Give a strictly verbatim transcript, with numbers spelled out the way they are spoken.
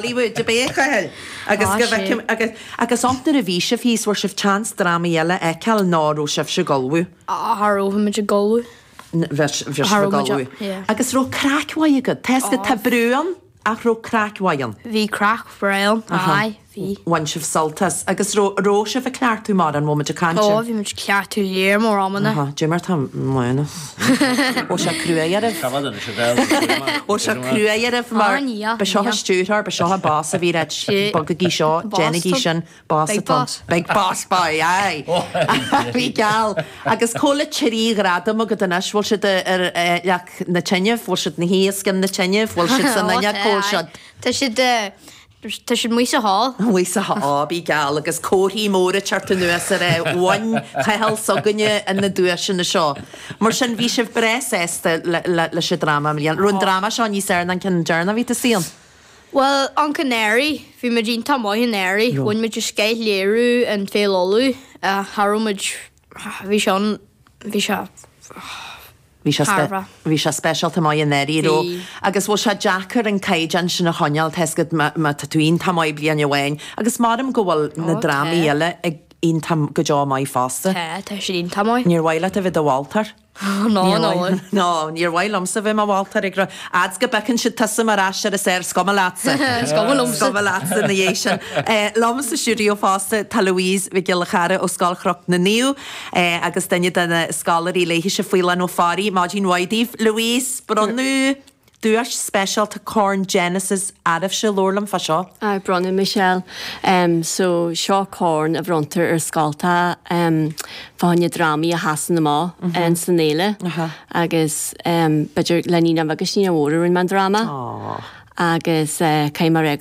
Hollywood a b'é Cathal agus Tá go sé. bhfeicim agus agus iontach nuair a bhí sibh thíos bhfuair sibh chance drámaí eile a fheiceáil ná raibh sibhse ag ullmhú. Cha raibh muid ag ullmhú. Bhí sibh Cha ag raibh muid ullmhú. yeah. Agus raibh craic mhaith agat. Tá 'fhios agat tá brú ann ach raibh craic mhaith ann. Bhí craic bhreá ann, aye, bhí. Bhain sibh sult as. Agus raibh raibh sibh ag cleachtadh mar an bhfuil muid ag caint? Ó, bhí muid ag cleachtadh léir mór amanna. Aha, Dé mar tá mánas. Ó sé cruaidh oraibh. Ó sé cruaidh oraibh mar Ah, ní, ba seo ní. stiúrthóir, ba seo boss a bhí reit Sí. bogaigí seo, Boss déanaigí tá- sin, boss Big atá. boss. Big boss boy, aye. Bhí geal. Agus cóla trí ghradam agat anois, bhfuil siad ar eh, leac na tine, bhfuil siad na híoscan na tine, bhfuil siad san Ó, aine tá, cóil aye. siad. Tá siad eh, tá siad muis sa hall. Bhí sa á bí geal agus comharthaí móra teart anuas ar é bhain Cathal s'againne in na duaiseanna seo. Mar sin bhí sibh breá sásta le- le- leis an dráma bliain. Raibh an dráma seo níos fearr ná an ceann deireanach a bhí tú suí Well, an Canary, bhí muid iontach maith in Airí, Jo. bhain muid a sceith léiriú an Féile Uladh, cha raibh muid bhí sé an bhí sé Bhí sé spe- Thairbhe. bhí sé speisialta maith in Airí ró Bhí. agus bhfuil sé deacair an caighdeán sin a choinneáil tá 'fhios agat má má tá tú iontach maith bliain amháin agus maram go bhfuil na Ó, drámaí tá. eile ag iontach go deo maith fosta. Tá tá siad iontach maith. Níor mhaith leat a bheith do mholtóir? No no. No, níor mhaith liomsa bheith mar mholtóir ag rá Ads go bhfeiceann siad tusa mar ais ar is ar is cuma leatsa. Is cuma liomsa. Is cuma leatsa na dhiaidh sin. Eh, Liom sa stiúideo fosta tá Louise Mhic Giolla Chara ó Scoil Chnoc na Naomh eh, agus duine de na scoláirí léithise Faoileán Ó Fearraigh, Maidin mhaith daoibh. Louise, bronnadh duais speisialta Corn Genesis oraibhse labhair liom fá seo. A bronnadh Michelle um, so seo corn a bhronntar ar scoltacha um, fá choinne drámaí a sheasann amach mm -hmm. san fhéile Aha. agus um, b'fhéidir le ní agus ní mhór an man dráma Oh. agus uh, caiim mar